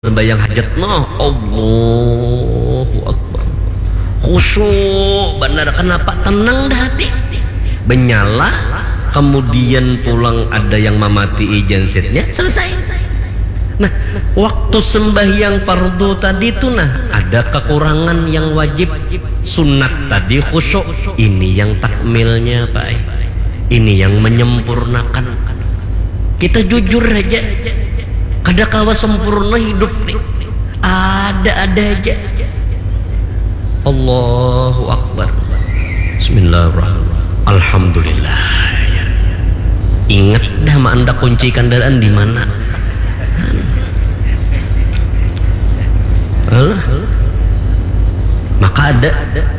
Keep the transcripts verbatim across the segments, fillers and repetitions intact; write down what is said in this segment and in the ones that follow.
Sembahyang hajat noh, Allahu Akbar. Khusyuk banar, kenapa? Tenang dah hati. Benyala, kemudian pulang ada yang mamatii gensetnya, selesai. Nah, waktu sembahyang fardu tadi tu nah, ada kekurangan yang wajib. Sunat tadi khusyuk, ini yang takmilnya, Pak. Ini yang menyempurnakan. Kita jujur aja. Kada kawa sempurna hidup nih. Ada-ada aja. Allahu Akbar. Bismillahirrahmanirrahim. Alhamdulillah. Ingat dah, ma anda kunci kendaraan di mana? Alah. Maka ada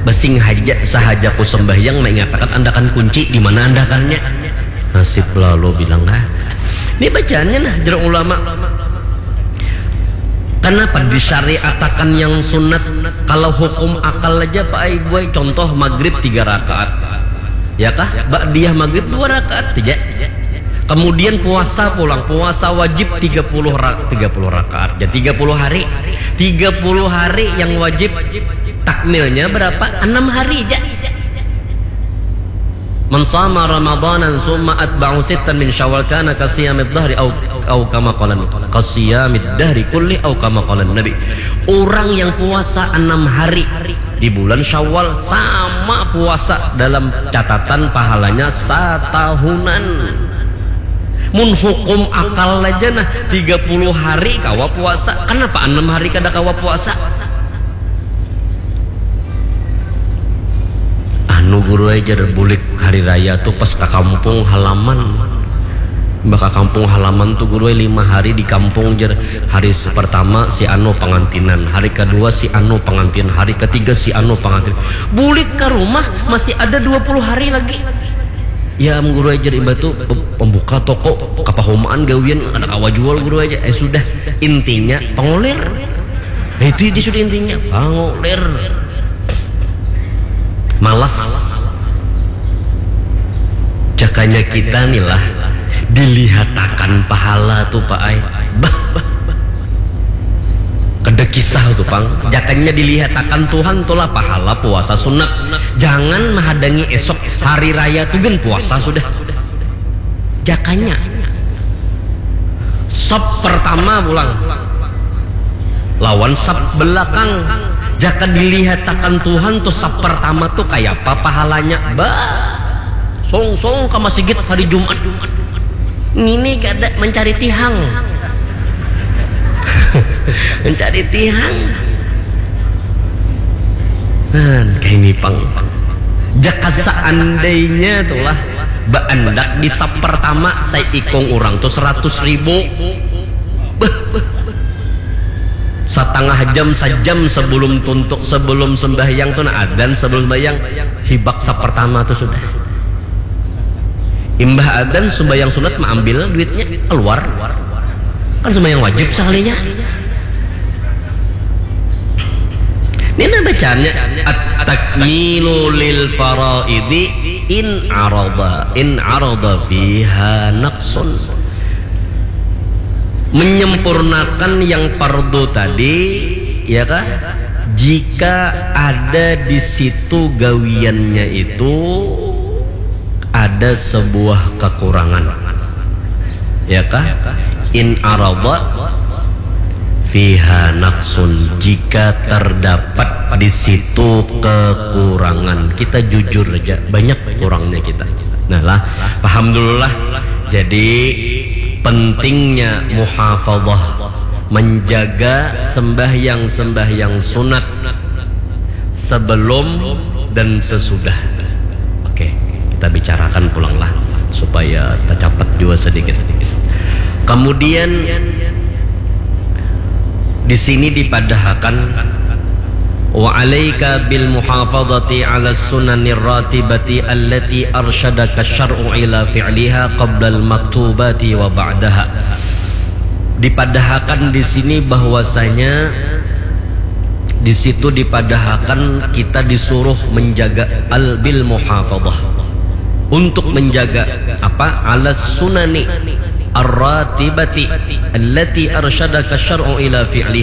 basing haja sahaja ku sembahyang mengatakan andakan kunci di mana andakannya. Nasib lalu bilang ah. Ini bacaannya nah, jeruk ulama. Kenapa disyariatakan yang sunat? Kalau hukum akal aja, Pak, ibu, contoh maghrib tiga rakaat, ya kah? Ba'diyah maghrib dua rakaat aja. Kemudian puasa pulang, puasa wajib tiga puluh ra- tiga puluh rakaat, ya, tiga puluh hari. Tiga puluh hari yang wajib, takmilnya berapa? Enam hari aja. Man sama Ramadanan summa atba'u sittan min Syawal kana kasiyamid dahri au, au kama qalan. Kasiyamid dahri kulli au kama qalan Nabi. Orang yang puasa enam hari di bulan Syawal sama puasa dalam catatan pahalanya satahunan. Mun hukum akal aja nah, tiga puluh hari kawa puasa. Kenapa enam hari kada kawa puasa? Anu guru ai, jar, bulik hari raya tu pas ka kampung halaman. Bah ka kampung halaman tu guru ai, lima hari di kampung, jar. Hari se- pertama si anu pangantinan, hari kedua si anu pangantin, hari ketiga si anu pangantin. Bulik ka rumah masih ada dua puluh hari lagi. Ya am guru ai, jar imbah tu, pembuka toko, kapahumaan gawian, kada kawa jual guru ai, jar. Eh sudah, intinya pangulir. Nah, itu dia sudah intinya, pangulir. Malas. Jakanya kita ni lah dilihatakan pahala tu, Pak ai. Bah, bah, bah. Kada kisah tu pang. Jakanya dilihatakan Tuhan tu lah pahala puasa sunat. Jangan mahadangi esok hari raya tu gin puasa sudah. Jakanya sap pertama pulang lawan sap belakang. Jaka dilihatakan Tuhan tu sap pertama tu kayapa pahalanya. Bah, song-song ka masigit hari Jumat. Ngini kada mencari tihang. Mencari tihang. Nah, kaini pang. Jaka seandainya tulah baandak di sap pertama, saikung urang tu seratus ribu. Beuh, beuh, beuh. Satangah jam, sajam sebelum tuntuk, sebelum sembahyang tu nah, adan sebelum sembahyang, hibak sap pertama tu sudah. Imbah adan sembahyang sunat maambil duitnya, keluar. Kan sembahyang wajib sakalinya. Ini nah bacaannya, at-takmilu lil faraidi in arada, in arada fiha naqsun. Menyempurnakan yang fardu tadi, ya kah? Jika ada di situ gawiannya itu ada sebuah kekurangan, ya kah? In arada fiha naqsun, jika terdapat di situ kekurangan, kita jujur aja, banyak kurangnya kita. Nah lah, paham dulu lah. Jadi pentingnya muhafazah, menjaga sembahyang-sembahyang sunat sebelum dan sesudah. Oke, kita bicarakan pulanglah supaya tercapat juga sedikit. Kemudian di sini dipadahakan, wa alaika bil muhafadati ala sunanir ratibati allati arsyadaka syar'u ila fi'liha qablal maktubati wa ba'daha. Dipadahakan di sini bahwasanya di situ dipadahakan kita disuruh menjaga al bil muhafadah, untuk menjaga apa, ala sunani, الراتبة التي أرشدك الشرع إلى فعلها.